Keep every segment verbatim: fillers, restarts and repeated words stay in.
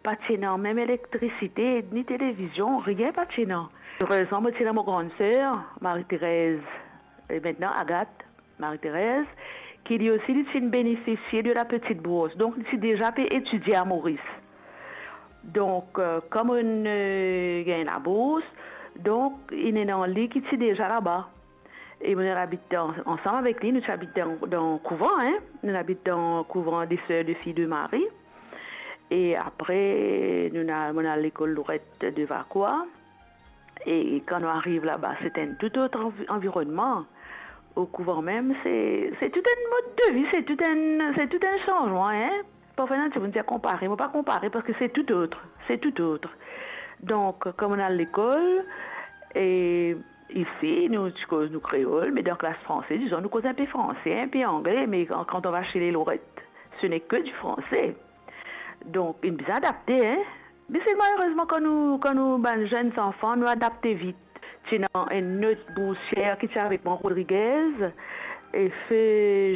Pa ti ena mem elektrisite, ni televizion, rien pa ti ena. Erezman, mo ti ena mo grann ser, Marie-Thérèse, e mintnan Agathe, Marie-Thérèse, ki li osi, li ti benefisie de la petite bourse. Donk, li ti deza pe etidie a Moris. Donk, eh, kouma nou, eh, gagn labours, donk, inn ena li ki ti deza laba. E nou ti abit an-, ansam avek li, nou ti abit dan, dan kouvan, hein. Nou abit dan kouvan de Sœurs de Filles de Marie. E apre, nou, nou al lekol Lorette de Vacoas. E kan nou ariv laba, se enn tou lot anvi-, anvironnman. O kouvan mem, se, se tou enn mod de vi, se tou enn, se tou enn sanzman, hein. Parfwa, ena dimoun dir konpare, mo pa konpare, parski se tou lot, se tou lot. Donk, kan nou al lekol, e isi, nou ti koz nou kreol, me dan klas franse, dizon, nou koz inpe franse, inpe angle, me kan, quand on va chez les Lorette, ce n'est que du français. Donk, inn bizin adapte, hein. Me selman, erezman, kan nou, kan nou bann zenn zanfan, nou adapte vit. Ti ena enn lot boursier ki ti avek mwa, Rodriguez, e Fe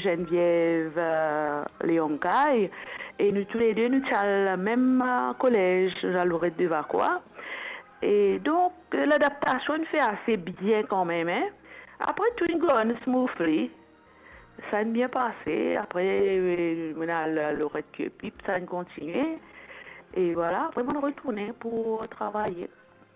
Geneviève, eh, Leoncay, e nou toule de, nou ti al mem, eh, kolez, nou al Lorette de Vacoas. E donk, eh, ladaptasion inn fer ase bien kanmem, hein. Apre tou, inn gagn smoothly. Sa inn bien pase. Apre, eh, mo al Lorette Curepipe, sa inn kontinie. E vwala, apre, mo retourne pou travay.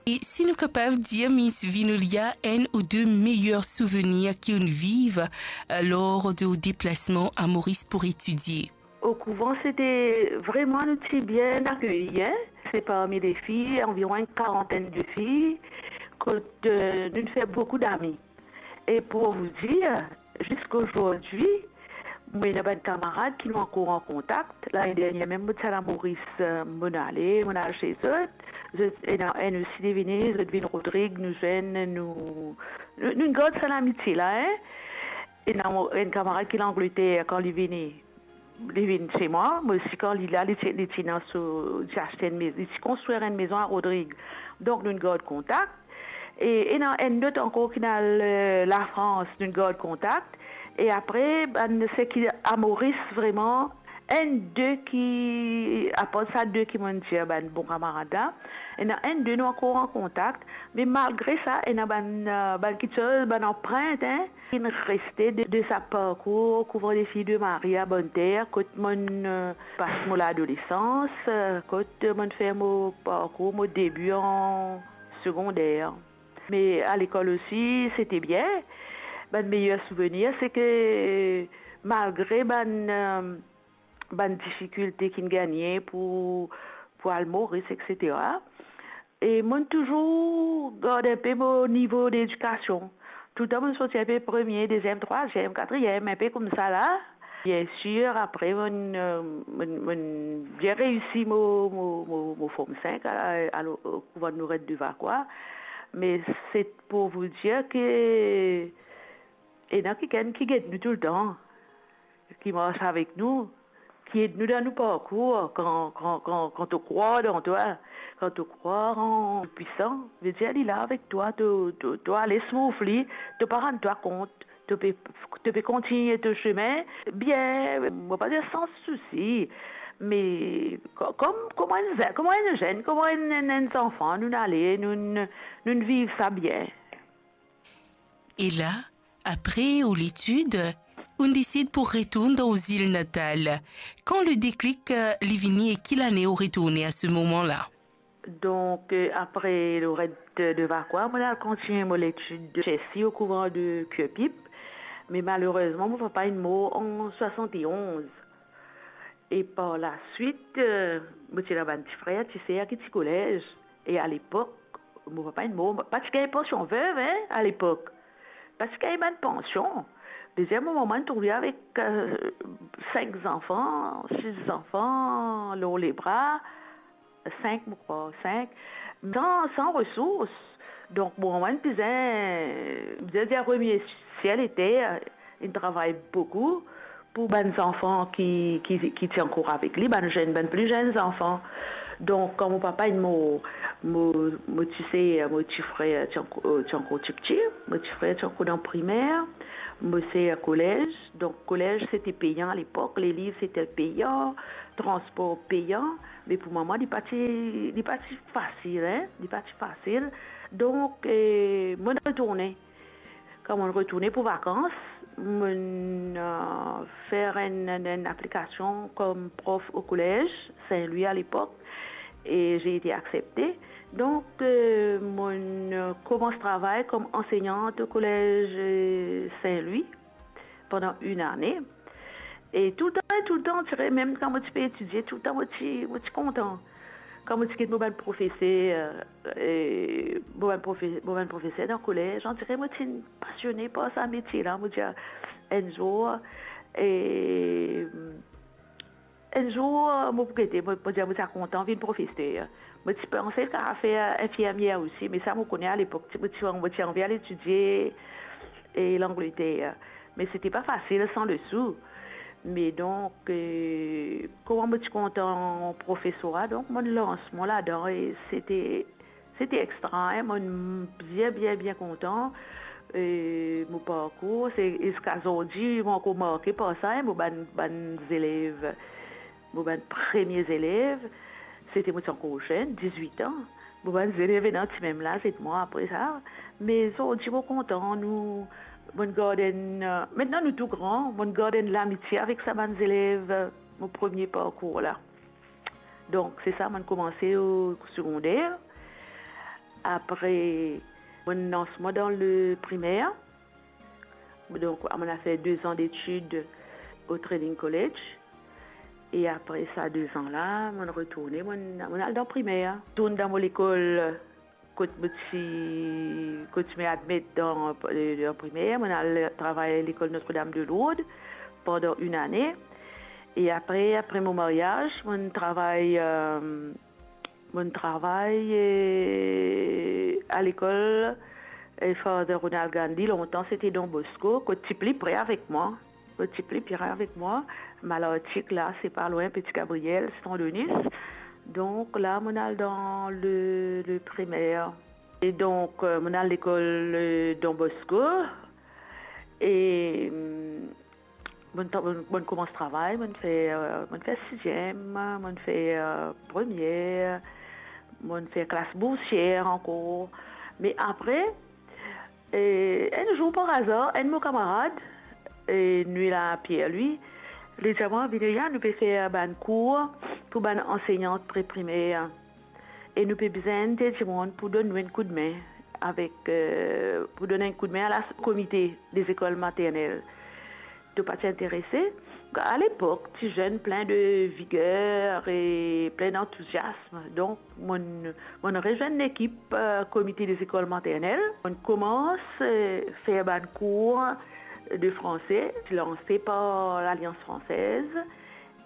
E si nou kapav dir, Miss Vinolia, enn ou de meyer souvenir ki ou'nn viv, eh, lor de ou deplasman a Moris pou etidie? O kouvan, se te vremem, nou ti bien akeyir, hein. Se parmi les filles, anviron enn karantenn de filles, kot, eh, nou fer boukou dami. E pou vous dire, ziska zordi, mo ena bann kamarad ki nou ankor an kontak. Lane dernie mem, mo ti al a Moris, eh, mo'nn ale, mo'nn al chez zot. Zot, ena enn osi li vini, zot vinn Rodrig, nou zwenn, nou, nou, nou gard sa lamitie la, hein. Ena mo-, enn kamarad ki Langleter, kan li vini, li vinn chez mwa, mo osi kan li la, li ti, li ti ena so, li ti aste enn mez-, li ti konstrir enn mezon a Rodrig. Donk, nou gard kontak. E, ena enn lot ankor ki ena, eh, Lafrans, nou gard kontak. E apre, bann seki a Moris, vremem, enn de ki, apar sa de ki mo'nn dir bann bon kamarad la, ena enn de nou ankor an kontak. Me malgre sa, ena bann, eh, bann kiksoz, bann anprint, hein, ki reste de, de sa parkour Couvent des Filles de Marie à Bonne-Terre, kot mo'nn, eh, pas mo ladolesans, eh, kot mo'nn fer mo parkour, mo debi an segonder. Me a lekol osi, se te bien. Bann meyer souvenir, se ke malgre bann, eh, bann difikilte ki'nn gagne pou, pou al Moris, et cetera. E mo'nn touzour gard inpe mo nivo ledikasion. Toultan mo'nn sorti inpe premie, deziem, trwaziem, katriem, inpe koumsa la. Biensir, apre mo'nn, eh, mo'nn, mo'nn bien reisi mo, mo, mo, mo Form Cinq a, a, o kouvan Lorette de Vacoas. Me se pou vous dire ke ena kikenn ki get nou toultan, ki mars avek nou, ki ed nou dan nou parkour. Kan, kan, kan, kan to krwar dan twa, kan to krwar an pwisan, vedir li la avek twa, to, to, to ale smoothly, to pa rann twa kont, to pe, to pe kontigne to sime bien, mo pa dir san sousi, me ko-, kom, kouma enn ze-, kouma enn zenn, kouma enn, enn, enn zanfan, nou'nn ale, nou'nn, nou'nn viv sa bien. E la, apre ou letid, ou'nn desid pou retourn dan ou zil natal. Kan le déclic, eh, li vini e ki lane ou retourne a se moman la? Donk, eh, apre Lorette de Vacoas, mo'nn al kontigne mo letid de Chelsea o kouvan de Curepipe. Me malerezman, mo papa inn mor an swasant-e-onz. E par laswit, eh, mo ti ena bann ti frer, ti ser ki ti kolez. E alepok, mo papa inn mor, pa ti gagn pansion vev, hein, alepok. Pa ti gagn bann pansion. Deziem, mo mama inn trouve avek, eh, sink zanfan, sis zanfan lor lebra, sink, mo krwar, sink, san, san resours. Donk, mo mama inn bizin, bizin dir remie siel e ter, inn travay boukou pou bann zanfan ki, ki, ki ti ankor avek li, bann zenn, bann pli zenn zanfan. Donk, kan mo papa inn mor, mo, mo ti ser, mo ti frer ti anko-, ti ankor tipti, mo ti frer ti ankor dan primer, Mo ti kolez, donk kolez se ti peyan alepok, leliv se ti peyan, transpor peyan, me pou mama li pa ti, li pa ti fasil, hein, li pa ti fasil. Donk, eh, mo retourne. Kan mo retourne pou vakans, mo, eh, fer enn, enn, enn aplikasion kom prof o kolez Saint-Louis alepok, e j'ai été acceptée. Donk, eh, mo, eh, koumans travay kom ansenyant o kolez, eh, Saint-Louis pandan enn ane. E toultan, toultan, ti re-, mem kan mo ti pe etidie, toultan mo ti, mo ti kontan. Kan mo ti get mo bann profeser, eh, mo bann profe-, mo bann profeser dan kolez, on dirait mo ti pasione par sa metie la. Mo dir, enn zour, eh, enn zour, mo pou gete, mo, mo dir, mo ti a kontan vinn profeser. Mo ti panse kapav fer infirmier osi, me sa mo kone alepok, ti, mo ti, mo ti anvi al etidie, eh, Langleter. Me se ti pa fasil san lesou. Me donk, eh, kouma mo ti kontan profesora, donk mo lans mwa ladan e se ti, se ti extra, hein, mo bien, bien, bien kontan. Eh, mo parkour, se ziska zordi, mo ankor marke par sa, hein, mo bann, bann zelev, mo bann premie zelev, se ti mo ti ankor zenn, dizwit an. Mo bann zelev ena ti mem laz ek mwa apre sa. Me zordi mo kontan, nou, mo'nn gard enn, eh, aster nou tou gran, mo'nn gard enn lamitie avek sa bann zelev, eh, mo premie parkour la. Donk, se sa, mo'nn koumanse o segonder. Apre, mo'nn lans mwa dan le primer. Donk, mo'nn al fer de zan detid o Training College. E apre sa de zan la, mo'nn retourne, mo'nn, mo'nn al dan primer. Tourn dan mo lekol kot mo ti, kot ti mo admet dan, dan primer, mo'nn al travay lekol Notre-Dame de Lourdes pandan enn ane. E apre, apre mo maryaz, mo'nn travay, eh, mo'nn travay, eh, a lekol, eh, Father Ronald Gandhi, lontan se ti Don Bosco, kot ti pli pre avek mwa. Kot ti pli pre avek mwa, Malartic la, se pa lwin, Petit Gabriel, Saint-Denis. Donk la, mo'nn al dan le, le primer. E donk, eh, mo'nn al lekol, eh, Don Bosco. E, mm, mo'nn tra-, mo'nn, mo'nn koumans travay, mo'nn fer, eh, mo'nn fer siziem, mo'nn fer, eh, premier, mo'nn fer klas boursier ankor. Me apre, eh, enn zour par azar, enn mo kamarad, eh, nou la Pierre-Louis, li dir mwa, "Vineria, nou pe fer bann kour pou bann ansenyant pre-primer." E nou pe bizin enn dimoun pou donn nou enn koudme avek, eh, pou donn enn koudme a la komite de lekol maternel. To pa ti interese? A lepok, ti zenn plin de viger e plin d'antouziasm. Donk, mo'nn, mo'nn rezwenn lekip, eh, komite de lekol maternel. Mo'nn koumans, eh, fer bann kour de franse, lanse par Lalians Fransez,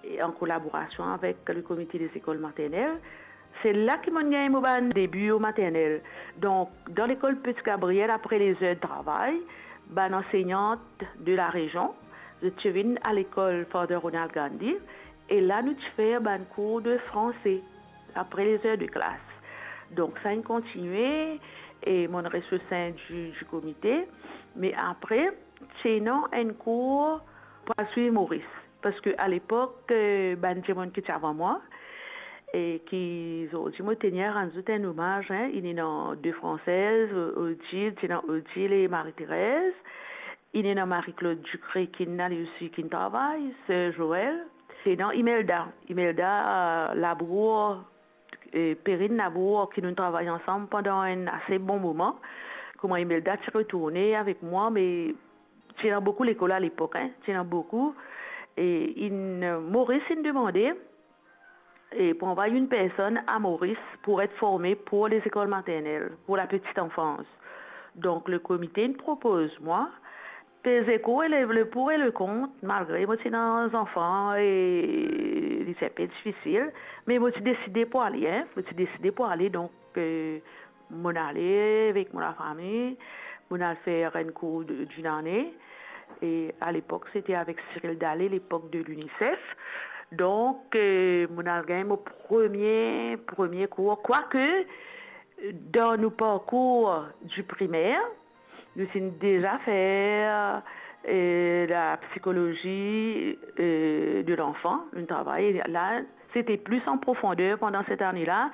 e an kolaborasion avek le komite de lekol maternel. Se la ki mo'nn gagn mo bann debi o maternel. Donk, dan lekol Petit Gabriel, apre lezer travay, bann ansenyant de larezion, zot ti vinn a lekol Father Ronald Gandhi, e la nou ti fer bann kour de franse, apre lezer de klas. Donk, sa inn kontinie, e mo'nn res o sein di, di komite, me apre, ti ena enn kour pou al swiv Moris. Parski a lepok, eh, bann dimoun ki ti avan mwa, e ki zordi mo tenir rann zot enn omaz, hein, inn ena de Fransez, O-, Odile, ti ena Odile e Marie-Thérèse, inn ena Marie-Claude Ducré ki'nn ale osi, ki'nn travay, Sœur Joël, ti ena Imelda, Imelda, eh, Labour, eh, Perrine Labour, ki nou travay ansam pandan enn ase bon moman. Kouma Imelda ti retourne avek mwa, me ti ena boukou lekol a lepok, hein, ti ena boukou. E inn, Moris inn demande, e pou anvway enn personn a Moris pou et forme pou lezekol maternel, pou la petite enfance. Donk, le komite inn propoz mwa, peze kou e le, le pour e le kont, malgre mo ti ena zanfan e li ti inpe difisil, me mo ti deside pou ale, hein, mo ti deside pou ale, donk, eh, mo'nn ale avek mo lafami, mo'nn al fer enn kour de, d'une année. E a lepok, se ti avek Cyril Dallé, lepok de l'UNICEF. Donk, eh, mo'nn al gagn mo premie, premie kour. Kwake, dan nou parkour di primer, nou ti deza fer, Et la psychologie, euh, de l'enfant, nou travay la, c'était plus en profondeur pendant cette année-là.